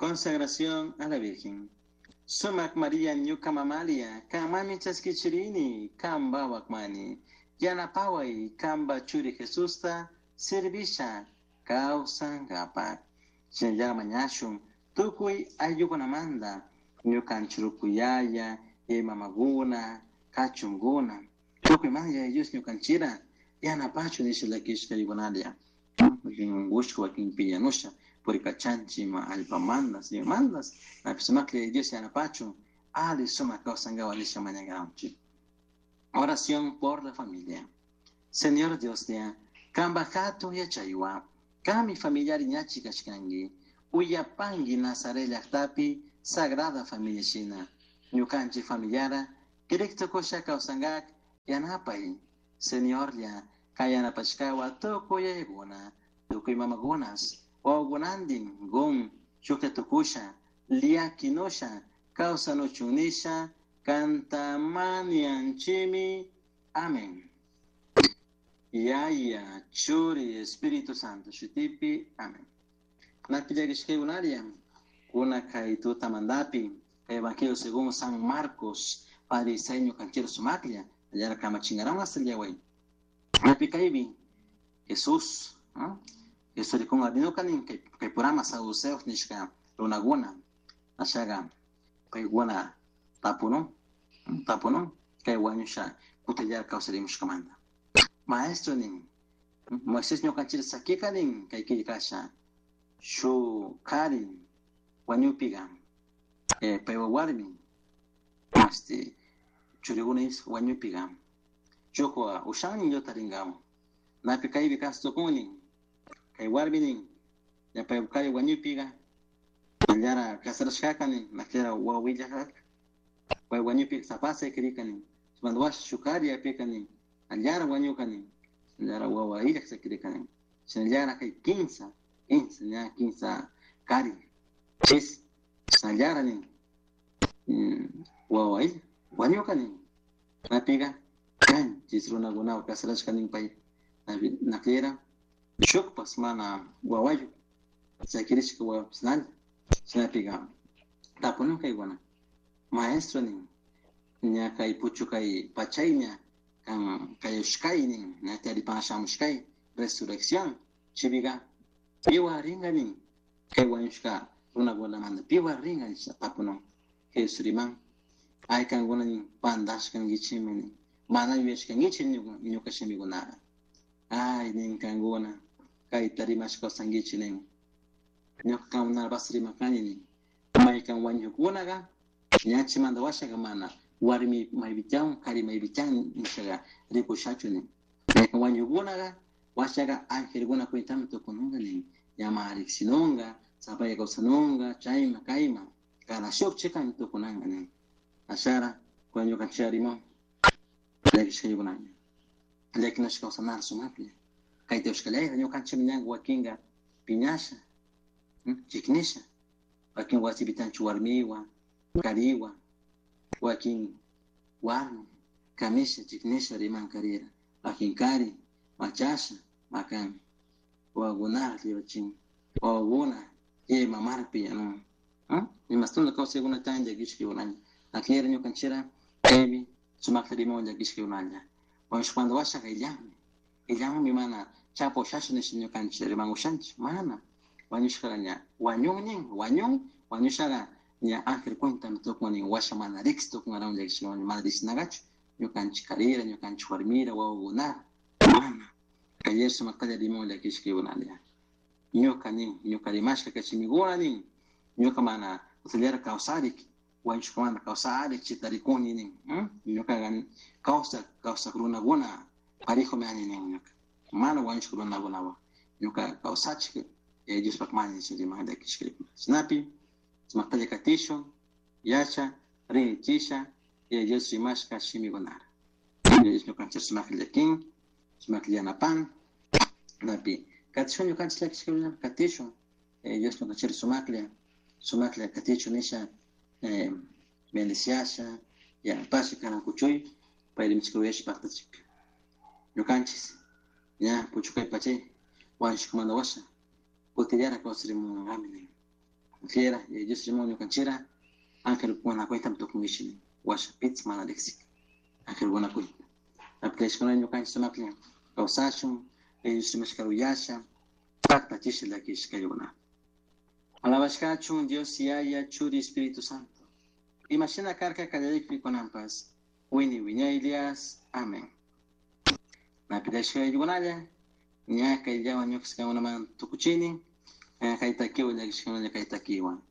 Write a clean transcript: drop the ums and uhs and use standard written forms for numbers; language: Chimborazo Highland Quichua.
Consagración a la Virgen. Sumac María ñuka mamalia, kanmami chaskichirini, kanba wakmani. Yanapaway kanba churi Jesusta servisha kawsankapak. Shinallara mañashun tukuy ayllukunamanta ñukanchik rukuyaya, mamakuna, kachunkuna. Tukuy mana Yaya Dios ñukanchira yanapachun nisha llakishka rikunalla. Wakin unkushka, wakin piñanusha, purikachanchik ima allpamandas, imamandas, napi sumaklla Yaya Dios yanapachun ali sumak kawsankapak nisha mañakanchik. Oración por la familia. Señor Dioslla, kanpak hatun yachaywan, kanmi familiari ñachi kashkanki, uyapanki Nazaret llaktapi Sagrada Familia shina, ñukanchik familiara kirik tukusha kawsankak yanapay. Señorlla, kay yanapashkawa tukuy yayakuna, tukuy mamakunas, wawakunantin gun shuklla tukusha, llakinusha, kawsanuchun nisha, kanta mañanchimi. Amén. Yaya, Churi, Espíritu Santo, shutipi. Amén. Napi llakishkaykunaria, kuna kay tutamantapi, kay Evangelio según San Marcos, Padre Isaí ñukanchik sumaklla, allara kamachinkaran hasta el día hoy. Napi kaypi, Jesús, ¿no? Jesús rikun arinuka nin kay kay purama saduceos nishka runakuna, ashaga paykuna tapunun, tapunun, kay wañusha kutillara kawsarimushkamanta. Maestro nin, Moisés ñukanchik sakika nin kay killkasha, shu kari wañupiga, paywa warmi, churikuna wañupiga, shukwa ushannin yutarinkawan. Napi kaypi kastukun nin, kay warmi nin, ña paywa kari wañupiga, allara casarashkaka nin, nakllara wawillakaka, pay wañupiga sapasa kirika nin, chimanta washa shuk kari apika nin, allara wañuka nin, allara wawa illak sakirika nin, shinallara kay kinsa, kinsa, ña kinsa kari, chis, shinallara nin, wawa illak, wañuka nin, napiga, kanchis runakunawan casarashka nin pay, nakllera, shukpas mana wawayu, sakirishka wawapas nalla, shinapiga, tapunun kaykuna, maestro nin, ña kay puchukay pachayña, kan kayushkay nin, ña taripan shamushkay, resurrección, chibiga, piwa ringa nin, kay wañushka runakunamanta piwa ringa nisha tapunun, Jesús riman, ay kankuna nin, pantashkankichikmi nin, mana yuyashkankichik ñuka shimikunata, ay nin kankuna, kayta rimashka kawsankichik nin, ñuka kankunatapas rimakani nin, maykan wañukunaka, ñachimanta washaka mana, warmi maypichan, kari maypichan nishaga rikushachu nin, maykan wañukunaka, washaka angelkuna cuentami tukununka nin, ñama riksinunka, sapaya kawsanunka, chayma kayma, cada shuk chikami tukunanka nin, ashara, kunan ñukanchik rimon, llakishkaykunaña, llakinashka kawsanar sumaklla, kayta ushkallayta ñukanchik ñanka wakinka piñasha, chiknisha, wakin wasipitanchu warmiwa, kariwa, wakin warmi, kamisha, chiknisha riman karira, wakin kari, machasha, makan, wawakunara lliwachin, wawakuna, yaya mamarpi no, imastuna kawsaykuna tan llakishkaykunaña, akllera ñukanchira, kaypi sumakta rimon llakishkaykunalla, wañushkamanta washaka illanmi, illanmi mana chapo ushasha nisha ñukanchik riman ushanchik, mana, wañushkara ña wañun nin, wañun, wañushaka ña ángel cuentami tukun nin, washa mana riksi tukunarawan llakishkawan, mana riksinakachu, ñukanchik karira, ñukanchik warmira, wawakunara, mana, kay sumaktalla rimon llakishkaykunalla, ñuka nin, ñuka rimashka kay shimikuna nin, ñuka mana utillara kawsarik, wañushkamanta kawsarik, chita rikuni nin, ñukaqa kawsak, kawsak runakuna parejomi ani nin ñuka, mana wañushka runakunawan, ñuka kawsachik, Diospak mani nisha riman llakishkaykuna. Shinapi, sumaktalla katishun, yacha, rinchisha, Dios rimashka shimikunara. Dios ñukanchik sumaklla llakin, sumaklla yanapan, napi, katishun ñukanchik llakishkaykuna, katishun, Dios ñukanchik sumaklla, sumaklla katichun nisha, bendiciasha, yanapasha kanan kuchuy, pay rimashka uyasha paktachik. Ñukanchis, ña puchukay pachay, wañushkamanta washa, kutillara kawsarimunqami nin. Fiera, Dios rimon ñukanchira, ángel cuenta tukungishi, washa pits mana riksik. Ángel cuenta. Apilashkuna ñukanchik sumaklla kawsashun, Dios rimashka uyasha, paktachisha llakishkayuna. Alabashkachun Dios Yaya Churi Espíritu Santo. Imashina karka kallarikpi kunanpas, wini wiñaylias. Amén. Napilashkaykunalla, ña kayllawan ñuqasqakunaman tukuchini, kay takiwan llakishkakunalla kay takiwan.